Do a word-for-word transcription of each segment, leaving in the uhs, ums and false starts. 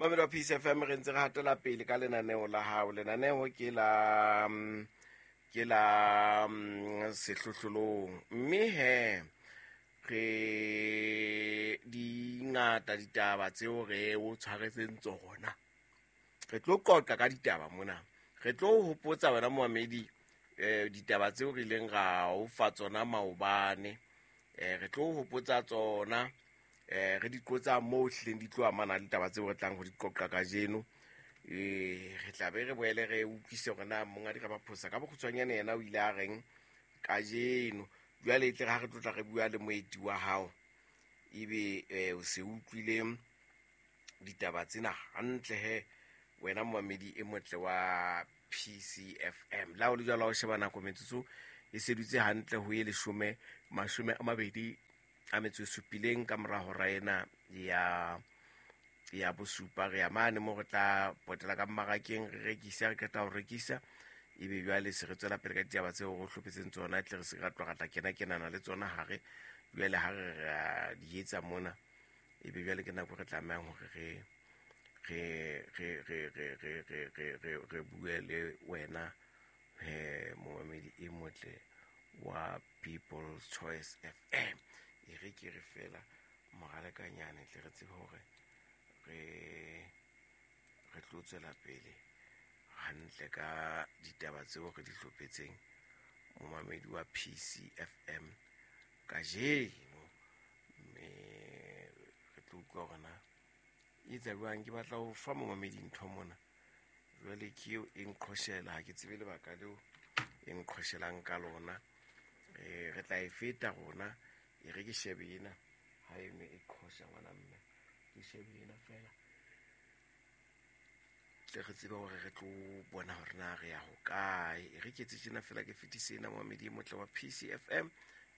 Mamedi wa P C F M, re ntse re hatela pele ka lenaneo la hao. Lenaneo ke la ke la sehlohlolong, mme he re di ngata ditaba tseo re o tshwaretseng tsona. Re tlo qoqa ka ditaba mona, re tlo hopotsa wena momamedi eh ditaba tseo re ileng ra o fa tsona maobane. Eh re tlo hopotsa tsona, eh re di qotsa moo hleng di tlo amana le ditaba tseo re tlang ho di qoqa kajeno. Eh re tla be re boele re utlwise hore na mongadi Ramaphosa ka bokgutshwanyane yena o ile a reng kajeno. Jwale e tle ha re tlo tla re bua le moeti wa hao, ebe eh o se utlwile ditaba tsena hantle he wena momamedi e motle wa P C F M. La o le jwalo o sheba nako metsotso e sedutse hantle ho e leshome mashome a mabedi a metso e supileng ka mora hora ena ya ya bosupa. Re ya mane mo re tla potela ka mmarakeng, re rekisa, re qeta ho rekisa, ebe jwale se re tswela pele ka ditaba tseo re hlophetseng tsona, tle re se ra tloga tla kena kenana le tsona hare. Jwale ha re ra di etsa mona, ebe jwale ke nako re tlamehang hore re re re re re re re re re re bue le wena he momamedi e motle wa People's Choice F M. E re ke re fela moralekanyane tle re tsebe hore re re tlo tswela pele hantle ka ditaba tseo re di hlophetseng momamedi wa P C F M kajeno. Mme re tlo utlwa hore na e etsa jwang. Ke batla ho fa momamedi ntho mona, jwale ke eo e nqhoshela, ha ke tsebe lebaka leo e nqhoshelang ka lona. Eh re tla e feta rona, e re ke shebe ena ha e ne e qhosha ngwana mme, ke shebe ena fela tle re tsebe hore re tlo bona hore na re ya hokae. E re ke etse tjena fela, ke fetise ena momamedi e motle wa P C F M,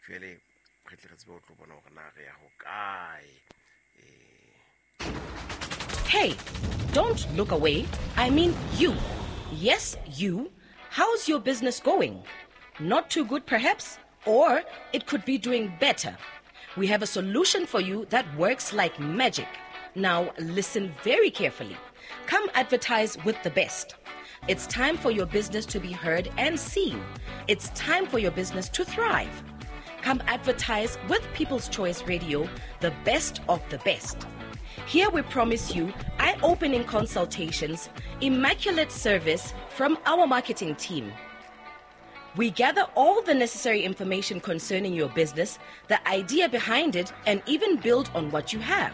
jwale re tle re tsebe ho tlo bona hore na re ya hokae. Eh Hey, don't look away. I mean you. Yes, you. How's your business going? Not too good, perhaps? Or it could be doing better. We have a solution for you that works like magic. Now, listen very carefully. Come advertise with the best. It's time for your business to be heard and seen. It's time for your business to thrive. Come advertise with People's Choice Radio, the best of the best. Here we promise you eye-opening consultations, immaculate service from our marketing team. We gather all the necessary information concerning your business, the idea behind it, and even build on what you have.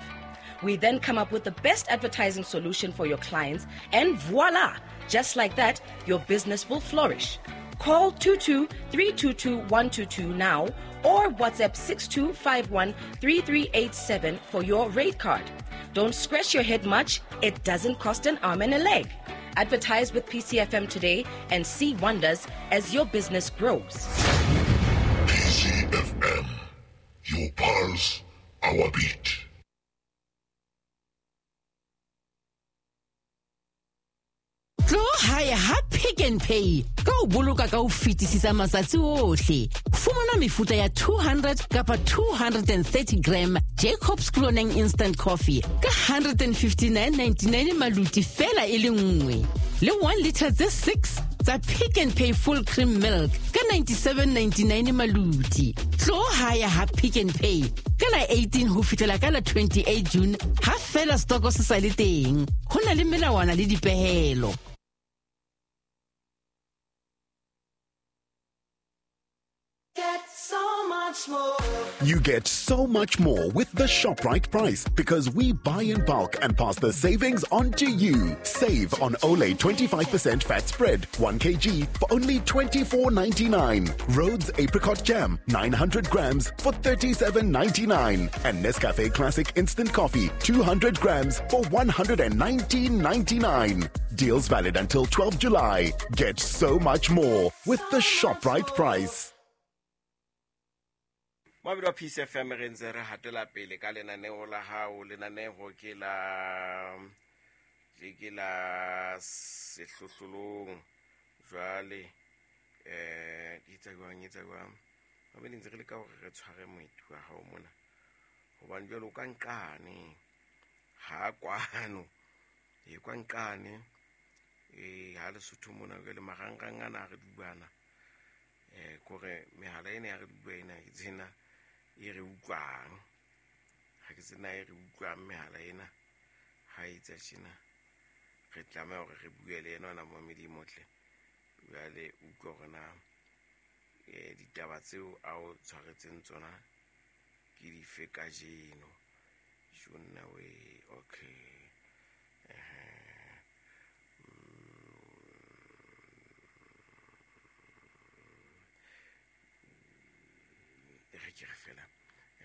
We then come up with the best advertising solution for your clients, and voila! Just like that, your business will flourish. Call two two three two two one two two now or WhatsApp six two five one three three eight seven for your rate card. Don't scratch your head much. It doesn't cost an arm and a leg. Advertise with P C F M today and see wonders as your business grows. P C F M, your pulse, our beat. Tlo hae ha Pick n Pay ka o boloka ka ho fetisisa matsatsi ohle. Fumana mefuta ya two hundred kapa two hundred thirty gram Jacobs Cloning Instant Coffee ka one hundred fifty-nine ninety-nine maluti fela e le nngwe. Le one liter tse six tsa Pick n Pay Full Cream Milk ka ninety-seven ninety-nine maluti. Tlo hae ha Pick n Pay ka la eighteen ho fihlela ka la twenty-eight June ha fela stoko se sa le teng. Ho na le melawana le dipehelo. You get so much more with the ShopRite price because we buy in bulk and pass the savings on to you. Save on Olay twenty-five percent fat spread, one kilogram for only twenty-four ninety-nine. Rhodes Apricot Jam, nine hundred grams for thirty-seven ninety-nine. And Nescafe Classic Instant Coffee, two hundred grams for one hundred nineteen ninety-nine. Deals valid until twelfth July. Get so much more with the ShopRite price. Mabedi wa P C F M re ntse re hatela pele ka lenaneo la hao. Lenaneo ke la ke la sehlohlolong. Jwale eh di tsa jwang, e tsa jwang. Mabedi ntse re leka hore re tshware moeti wa hao mona, hobane jwale o ka nqane ha kwano E kwa nqane e ha Lesotho mona ke le marangrang ana re dubana eh kore mehala ena ya re duba ena ke tsena e re utlwang ha ke tsena e re utlwang mehala ena ha e tsa tjena re tlameha hore re bue le yena ona momedi motle jwale utlwa hore na eh ditaba tseo a o tshwaretseng tsona ke dife kajeno. Jonna we okay eh re ke re fela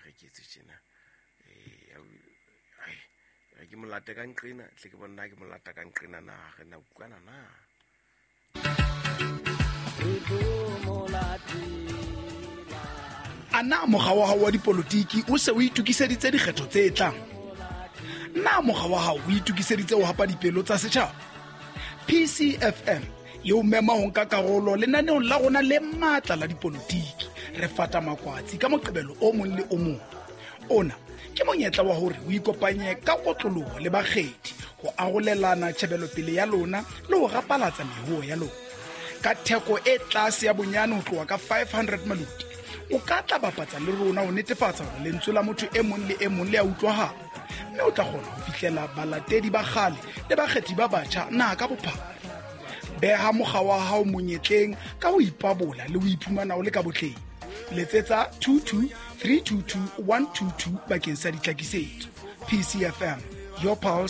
re ke tse tjena eh ai re ke molata ka nqina tle ke bona ke molata ka nqina na re na utlwana na Ana mokga wa hao wa dipolotiki o se o itokiseditse dikgetho tse tlang? Na mokga wa hao o itokiseditse ho hapa dipelo tsa setjhaba? P C F M e o mema ho nka karolo lenaneong la rona le matla la dipolotiki. Re fata makwatsi ka Moqebelo o mong le o mong. Ona ke monyetla wa hore o ikopanye ka kotloloho le bakgethi ho arolelana tjhebelopele ya lona le ho rapalatsa mehuo ya lona. Ka theko e tlase ya bonyane ho tloha ka five hundred maluti, o ka tla bapatsa le rona ho netefatsa hore lentswe la motho e mong le e mong le a utlwahala, mme o tla kgona ho fihlela balatedi ba kgale le bakgethi ba batjha naha ka bophara. Beha mokga wa hao monyetleng ka ho ipabola le ho iphumana o le ka botleng. Letsetsa two two three two two one two two bakeng sa ditlhakisetso. P C F M, your pulse.